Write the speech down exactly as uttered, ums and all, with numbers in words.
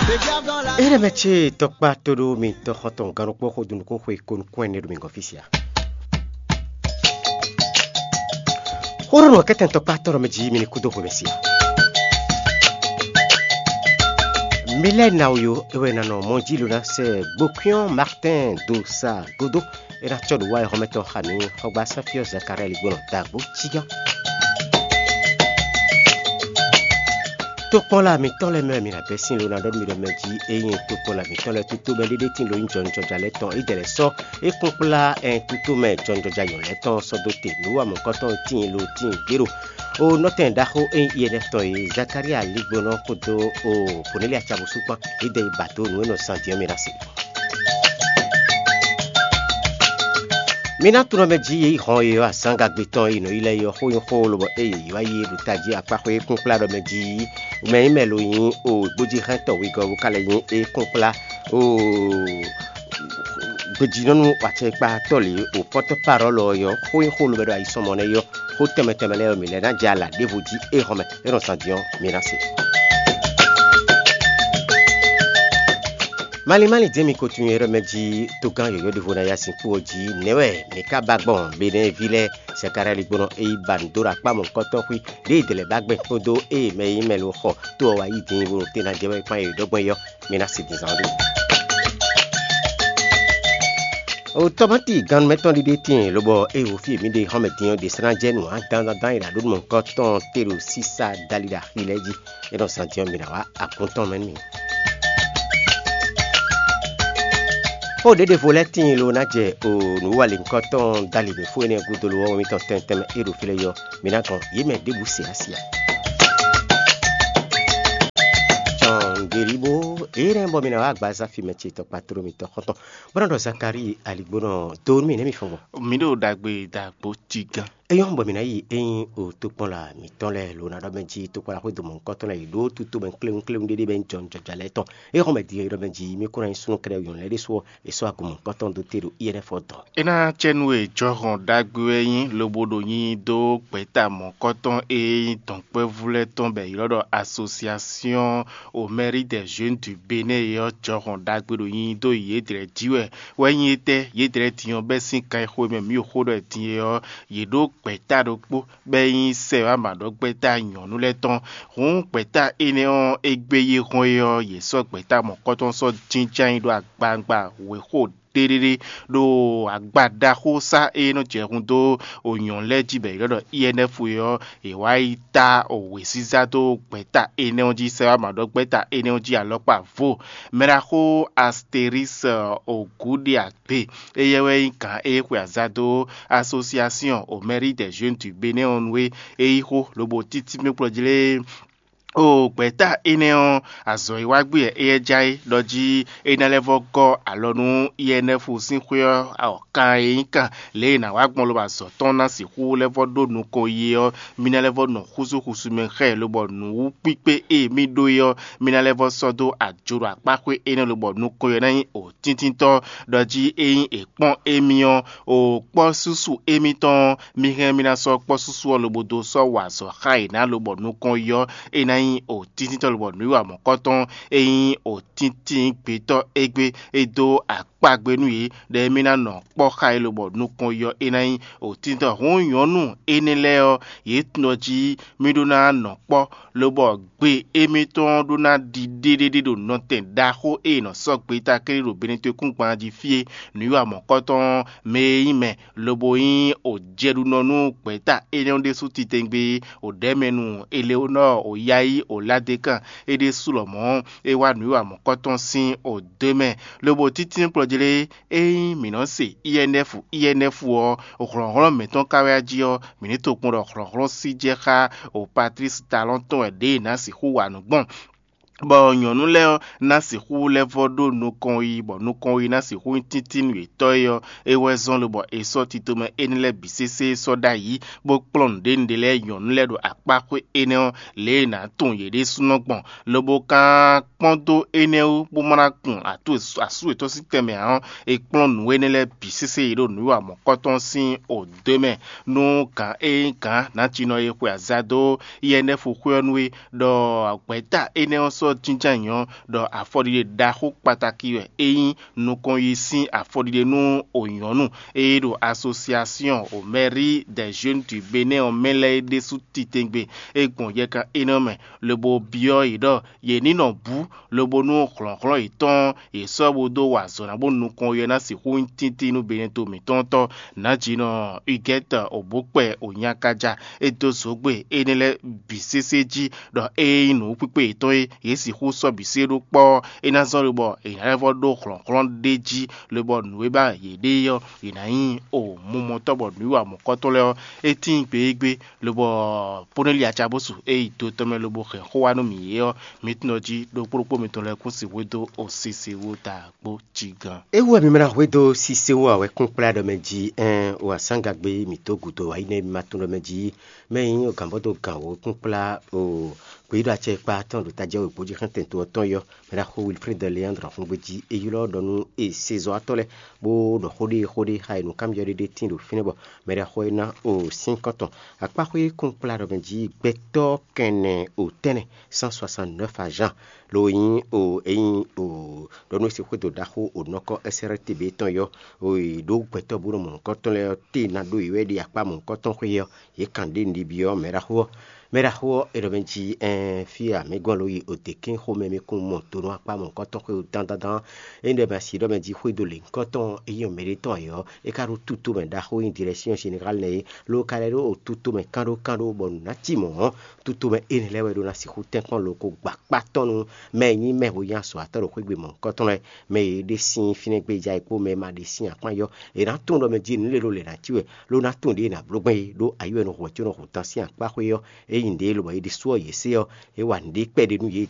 Éɖɛmɛ ce tɔkpá tóɖó mi tɔxɔtɔn gannukpó xodunukún xwe konukún ɛnɛ ɖo mi gɔ́n fí sia. Xóɖɔnɔ kɛ́tɛn tɔkpá tɔ́ ɖɔ mɛ jí mi ní kúdó xwemɛ sia. Mi lɛ́ ná wú yó, é wɛ ná nɔ mɔ jí ló ná sɛ gbókúnyɔ́ Martin do sa gúdo. É ná cɔ́ ɖo wá e xɔmɛtɔn xa mǐ xɔgbá Sáfiɔ Zakalɛ́ɛ ligbɔnɔ dagbo jíjá. Tokpɔnla mǐtɔn lɛ́ɛ mɛ wɛ mi nǎ bɛ́ sín lo ná ɖɔ nú mì ɖɔ mɛ jí é nyí tokpɔnla mǐtɔn lɛ́ɛ tutomɛ ɖéɖé tín lo nyí jɔnjɔja lɛ́ɛ tɔn é jɛ lɛ́ sɔ́ é kplɔ́nkplá ɛn tutomɛ jɔnjɔja nyɔ̌nu lɛ́ɛ tɔn sɔ́ dó te nǔ wa mɔ̌kɔtɔn tíin lo tíin gbé ɖo o nɔtɛn ɖaxó é nyí iyɛnɛ́ tɔn e Zakalía ligbɔnɔ kpódó o Kɔnɛ́lia cabusú kpán. Yědɛɛ yi ba dó nǔ e nɔ zan din ɔ́ mì ná se. Mi ná tunɔ mɛ jí yě yi hɔn e ɔ́ azǎngagbe tɔn e nɔ yi lɛ́ɛ é ɔ́ xó nyí xó lobɔ ée yě yi wá yi é ɖo tají akpáxwé kúnkplá ɖɔ mɛ jí mɛ nyí mɛ lo nyí o gbójíhɛntɔ wegɔ́ bó ka lɛ́ nyí é kúnkplá o gbejínɔ́nú acɛkpatɔ́ lě o pɔ́tɔ́ parɔ́lɔ ɔ́ xó nyí xó lobɔ ɖo ayisɔmɔ nɛ́ é ɔ́ xó tɛnmɛ tɛnmɛ lɛ́ɛ ɔ́ mǐ lɛ́ ná jɛ ala ɖěvo jí é hɔn mɛ é nɔ zan din ɔ́ mi ná se. Malín malín dín mi ko tunwun e ɖɔ mɛ jí togán yɔ̌yɔ́ ɖěvo ná yá sinkú ɔ́ jí nɛ̌ wɛ mǐ ka ba gbɔn Benɛ́ɛví lɛ́ɛ sɛkáɖáligbónɔ e yi ba nǔ dó ɖo akpá mɔ̌hunkɔtɔn xwí ɖěe dě lɛ́ɛ ba gbɛn kpódó ée mɛ e nyí mɛ lo xɔ tó ɔ́ wá yí din bo ɖo te ná jɛ wɛ kpán yě ɖɔ gbɔn é ɔ́, mi ná se din zán ɖó. O tɔmati gannumɛtɔn ɖiɖe tíin lobɔ ée wo fí e mǐ ɖe xɔ́mɛ din ɔ́ ɖe sɛ́ ná jɛ nǔ dandandan e ɖo aɖǒ mɔ̌hunkɔtɔn te ɖo sísá dali ɖo axi lɛ́ɛ jí. É nɔ zán din ɔ́, mi ná wá akún tɔn mɛ nú mì. Xó ɖěɖevo lɛ́ɛ tíin lo ná jɛ o nǔwalěnkɔ́tɔn dali mǐ fó énɛ́ gúdo lo ɔ́ mitɔn tɛntɛn mɛ é ɖo fí lɛ́ɛ yɔ, mi ná gɔn yě mɛ ɖěbǔ se asi ǎ. Cɔngelibo, énɛ́ bɔ mi ná wá agbaza fi mɛ ce tɔkpatro mitɔn xɔ́ntɔn, bó ná ɖɔ Zakalíi aligbónɔ dó nú mì nɛ́ mi fɔ́n gbɔn. Mi ɖo ɖagbe dagbo tigán. Eyɔ́ bɔ mǐ ná yi é nyí o tokpɔnla mǐtɔn lɛ́ɛ lo ná ɖɔ mɛ jí tokpɔnla xwé domɔ̌hunkɔtɔn lɛ́ɛ yi ɖó tutomɛ kléwúnkléwún ɖéɖé bɛ nyí jɔnjɔja lɛ́ɛ tɔn. É xɔ́n mɛ din e ɖɔ mɛ jí mí kó ná nyí súnnu kɛ́ɖɛ́ nyɔ̌nu lɛ́ɛ ɖésú ɔ́, è sɔ́ agun mɔ̌hunkɔtɔn dó te ɖo iyɛ́ lɛ́ɛ fɔ dɔn. É ná cɛ nú e jɔhɔn ɖagbe wɛ nyí lobo ɖo nyi dó gbɛ̌ta mɔ̌kɔtɔn e nyí dɔ̌nkpɛvú lɛ́ɛ tɔn bɔ è ylɔ́ ɖɔ Association au mérite des jeunes du Bénin é ɔ́, jɔhɔn ɖagbe ɖo nyi dó yědɛɛ jí wɛ. Wɛ nyí étɛ́? Yědɛɛ din ɔ́ bɛ́ sín kan e xo e mɛ mǐ ɖo xó ɖɔ din é ɔ́, yě ɖó gbɛ̌ta ɖokpó bɔ é nyí sɛ wá mǎ ɖɔ gbɛ́ta nyɔ̌nu lɛ́ɛ tɔn. Hǔn gbɛ̌ta énɛ́ ɔ́, égbé yě hɔn é ɔ́, yě sɔ́ gbɛ̌ta mɔ̌kɔtɔn sɔ́ jínjɔ́n ayǐ ɖó agbawungba wěxo ɖéɖéɖé ɖo agba ɖaxó sá e nɔ jɛ hun dó onyɔ̌ lɛ́ɛ jí bɔ è ylɔ́ ɖɔ I N F é ɔ́, è wǎ yi ta wěziza dó gbɛ̌ta énɛ́ ɔ́ jí, sɛ wá mǎ ɖɔ gbɛ́ta énɛ́ ɔ́ jí alɔkpa vo. Mɛɖaxó Astéris Ogúɖiagbe, éyɛ́ wɛ nyí gǎn e xwe azǎn dó Association au mérite des jeunes du Bénin ɔ́ nu é. É yí xó lobo títí mɛ kplɔ́ jí lé. O gbɛ̌ta énɛ́ ɔ́, azɔ̌ e wá gbé wɛ éyɛ́ ja é ɖɔ jí é ná lɛ́ vɔ́ gɔ́ alɔ nú I N F sín xwé ɔ́ awɔ̌kan e nyí kan lě e è nǎ wá gbɔn lobo azɔ̌ tɔn ná sixú lɛ́ vɔ́ ɖó nukɔn yi é ɔ́, mì ná lɛ́ vɔ́ nɔ xúzú xúsú mɛ xá ɛ lobɔ nǔwúkpíkpé e mì ɖó é ɔ́, mì ná lɛ́ vɔ́ sɔ́ dó ajo ɖo akpáxwé énɛ́ lobɔ nukɔn yi ɔ́ ná nyí òtíntítɔ́ ɖɔ jí ényí è kpɔ́n émí ɔ́, o kpɔ́ súsu émítɔn ɔ́, mì hɛn mì ná sɔ́ kpɔ́ súsu ɔ́ lobo dó sɔ́ wa azɔ̌ xá yě ná lobɔ nukɔn yi ɔ́, é ná nyí òtíntítɔ́ lobɔ nǔwiwa mɔ̌kɔtɔn e nyí òtíntín gbětɔ́ égbé é dó akpagbe nú yě, ɖɔ émí ná nɔ kpɔ́ xá yě lobɔ nukɔn yi ɔ́, é ná nyí òtíntɔ́. Hǔn nyɔ̌nu énɛ́ lɛ́ɛ ɔ́, yě tunwun jí mì ɖó ná nɔ kpɔ́, lobɔ gbe émítɔn ɔ́ ɖó ná ɖi ɖéɖéɖé ɖo nɔtɛn ɖaxó e è nɔ sɔ́ gbeta kɛ́ɖɛ́ ɖo Benɛtwekúngban jí fí é. Nǔwiwa mɔ̌kɔtɔn ɔ́, mɛ e nyí mɛ lobo nyí òjɛɖunɔ nú gbɛ̌ta énɛ́ ɔ́ ɖésú titewungbe òɖɛ̌mɛnu Eleonɔ́ɔ Oyayi Oladekán é ɖésú lɔmɔ̌ é wá nǔwiwa mɔ̌kɔtɔn sín òdó mɛ, lobo títí kplɔ́ jlé. Ényí mǐ nɔ se I N F I N F ɔ́, hlɔ̌nhlɔ́n mǐtɔn ka wɛ a jí ɔ́, mǐ ní tunwun ɖɔ hlɔ̌nhlɔ́n sí jɛ xá o Patlísi Talɔ́n tɔn wɛ ɖěe è nǎ sixú wa nǔ gbɔn. Bɔ nyɔ̌nu lɛ́ɛ ɔ́ ná sixú lɛ́ vɔ́ ɖó nukɔn yi, bɔ nukɔn yi ná sixú nyí tíntín nú yětɔn é ɔ́, é wɛ zɔ́n lobɔ è sɔ́ titomɛ énɛ́ lɛ́ɛ bǐ sésé sɔ́ ɖ'ayǐ, bó kplɔ́n nǔɖénúɖé lɛ́ɛ nyɔ̌nu lɛ́ɛ ɖo akpáxwé énɛ́ ɔ́, lě e è nǎ tunwun yě ɖésúnɔ gbɔn, lobo ka kpɔ́n dó énɛ́ wú, bó ma ná kun asú yětɔn sín tɛnmɛ ǎ ɔ́, è kplɔ́n nǔ énɛ́ lɛ́ɛ bǐ sésé yi ɖo nǔwiwa mɔ̌kɔtɔn sín odǒ mɛ, nú gǎn e nyí gǎn nǎjinɔ e xwe azǎn dó I N F xwé ɔ́ nu é, ɖɔ gbɛ̌ta énɛ́ ɔ́ sɔ́ Jínján nyɔ̌ ɖɔ afɔɖiɖe ɖaxó kpatáki wɛ é nyí nukɔn yi sín afɔɖiɖe nú ònyɔ̌nu e ɖo Association aux Mairies des Jeunes du Bénin ɔ́ mɛ lɛ́ɛ é ɖésú titewungbe e gbɔn yɛkan énɛ́ mɛ, lobo byɔ́ yě ɖɔ yě ní nɔ bǔ, lobo nú hlɔ̌nhlɔ́n yětɔn yě sɔ́ bó dó wa azɔ̌ ná bó nukɔn ɔ́ ná sixú nyí tíntín nú Benɛto mǐtɔn tɔn. Nǎjínɔ Igɛ́tɔ Obókpɛ Onyakaja e dó zǒgbe énɛ́ lɛ́ɛ bǐ sésé jí ɖɔ ée nyí nǔkpíkpé yětɔn e yě sixú sɔ́ bǐ sé ɖó kpɔ́ ɔ́, é ná zɔ́n lobɔ è nǎ lɛ́ vɔ́ ɖó hlɔ̌nhlɔ́n ɖ'é jí, lobɔ nǔ e ba yě ɖe é ɔ́, yě ná nyí o mumɔtɔ́ bɔ nǔwiwa mɔ̌kɔtɔn lɛ́ɛ ɔ́, é tíin gbégbé, lobɔ Ponɛ́li acabúsu e yi do tɔn mɛ lobo hɛn xó wá nú mǐ é ɔ́, mǐ tunwun jí ɖokpó ɖokpó mitɔn lɛ́ɛ kún sixú dó osese wú ta kpó cí gán. É wú wɛ mi mɛ ná hwedó Sisewú ǎ wɛ kún kplá ɖɔ mɛ jí ɛn o azǎngagbe mǐtó gǔdo ǎ yi nɛ́ mi ma tunwun ɖɔ mɛ jí mɛ nyí o gǎnbɔ́ dó gǎn wǒ kún kplá o gbeyíɖɔ acɛ e kpa tɔn ɖo tají wěgbó jí xɛ́ntɛn to ɔ́ tɔn yɔ mɛ ɖaxó Wilfred Leandre Xungbejí e ylɔ́ ɖɔ nú e sezɔ́watɔ́ lɛ́ɛ bó ɖɔ xó ɖé xó ɖé xá e nǔkanbyɔ́ ɖé ɖé tíin ɖo fínɛ́ bɔ mɛ ɖaxó e ná o sín kɔ́tɔn akpáxwé kún kplá ɖɔ mɛ jí gbɛtɔ́ kɛnɛ o tɛ́nnɛ cent soixante-neuf agents lo nyí o e nyí o ɖɔ nú e sixú xwédo ɖaxó o nɔkɔ S R T B tɔn yɔ o yi ɖó gbɛtɔ́ bó nɔ mɔ nǔkɔntɔn lɛ́ɛ ɔ́ te ná ɖó yě wɛ ɖi akpá mɔ̌hunkɔtɔn xwé ɔ́, yě kan ɖě nɖibi ɔ́ mɛ ɖaxó ɔ́. Mɛ ɖaxó ɔ́, è ɖɔ mɛ jí ɛn fí e amǐgɔ́n lo yi o dě kɛ́n xomɛ mi kún mɔ do nú akpá mɔ̌hunkɔtɔn xwé o dán dán dán. É ɖɔ mɛ asi ɖɔ mɛ jí xwédo lěhunkɔtɔn e nyí mɛ ɖé tɔn ayǐ ɔ́, é ka ɖó tutomɛ ɖaxó e nyí Direction Générale nɛ́ é, lo ka lɛ́ ɖó o tutomɛ kánɖó kánɖó bɔ nǔ ná cí mɔ̌ ɔ́, tutomɛ énɛ́ lɛ́ɛ wɛ ɖó ná sixú tɛ́nkpɔ́n lo ko gba kpá tɔn nú mɛ e nyí mɛhweyǎnzɔ́watɔ́ ɖo xwé gbe mɔ̌hunkɔtɔn lɛ́ɛ, mɛ e ɖe sín fínɛ́ gbéjá é kpó mɛ e ma ɖe sín akpán yɔ. È nǎ tunwun ɖɔ mɛ jí nǔ lě ɖo lě ná cí wɛ, ló ná tunwun ɖě è nǎ bló gbɛn é, ɖó ayǐ wɛ nɔ hu wɛ có nɔ hu tán sín akpá xwé ɔ́. Ényí nǔɖé lobɔ è ɖe sú ɔ́ yě se ɔ́, é wa nǔɖé kpɛɖé nú yě